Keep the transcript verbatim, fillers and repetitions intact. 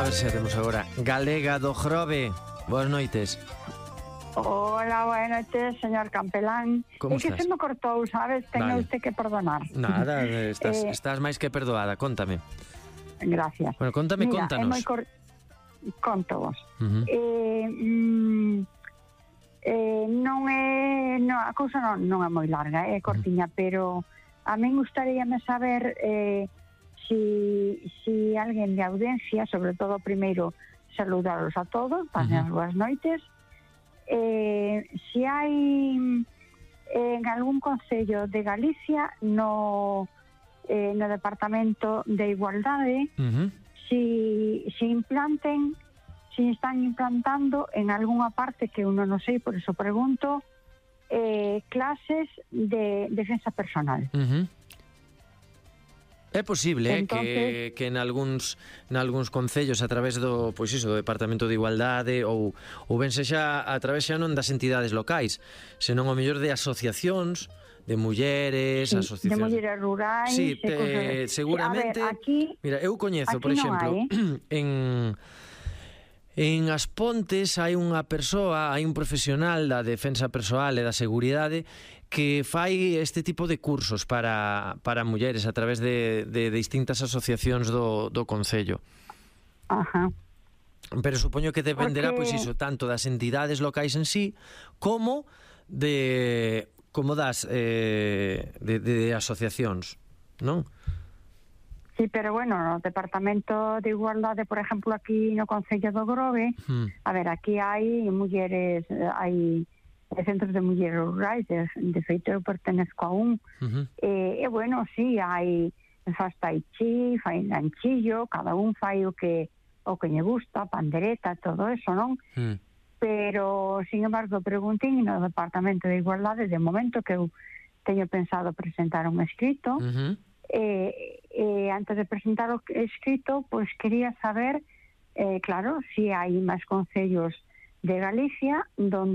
A ver se a temos agora. Galega do Grove. Boas noites. Hola, buenas noches, señor Campelán. Como é que estás? se me cortou, sabes? Tenga Vale. usted que perdonar. Nada, estás, Eh, estás máis que perdoada. Cóntame. Gracias. Bueno, contame, Mira, contanos. é moi cor... Conto vos. Uh-huh. Eh, mm, eh, non é... No, a cousa non, non é moi larga, é cortiña, uh-huh. Pero a min gustaríame saber eh, si, si alguén de audiencia, sobre todo primeiro saludaros a todos, pasar uh-huh. boas noites. Eh, si hai en algún concello de Galicia no, eh, no Departamento de Igualdade Uh-huh. si, si implanten si están implantando en algunha parte que uno non sei, por eso pregunto, eh, clases de defensa personal. Uh-huh. É posible Entonces, que, que en algúns nalgúns concellos a través do, pois iso, do Departamento de Igualdade ou, ou ben sexa a través xa non das entidades locais, senón ao mellor de asociacións de mulleres, sí, asociacións de mulleres rurais, sí, de te, cosas... seguramente. A ver, aquí, mira, eu coñezo, aquí por exemplo, hai, eh? en En As Pontes hai unha persoa, hai un profesional da defensa persoal e da seguridade que fai este tipo de cursos para, para mulleres a través de, de distintas asociacións do, do Concello. Ajá. Pero supoño que dependerá, Porque... pois iso, tanto das entidades locais en sí como de como das eh, de, de asociacións, non? Sí, pero bueno, no Departamento de Igualdade, por exemplo, aquí no Concello do Grove, Hmm. a ver, aquí hai mulleres, hai centros de mulleres rurais, de, de feito eu pertenezco a un, Uh-huh. e, e bueno, sí, hai faz tai chi, fai ganchillo, cada un fai o que o que lle gusta, pandereta, todo eso, non? Hmm. Pero, sin embargo, preguntín no Departamento de Igualdade, de momento que eu teño pensado presentar un escrito, Uh-huh. Eh, eh, antes de presentar o escrito, pues quería saber, eh, claro, si hai máis concellos de Galicia donde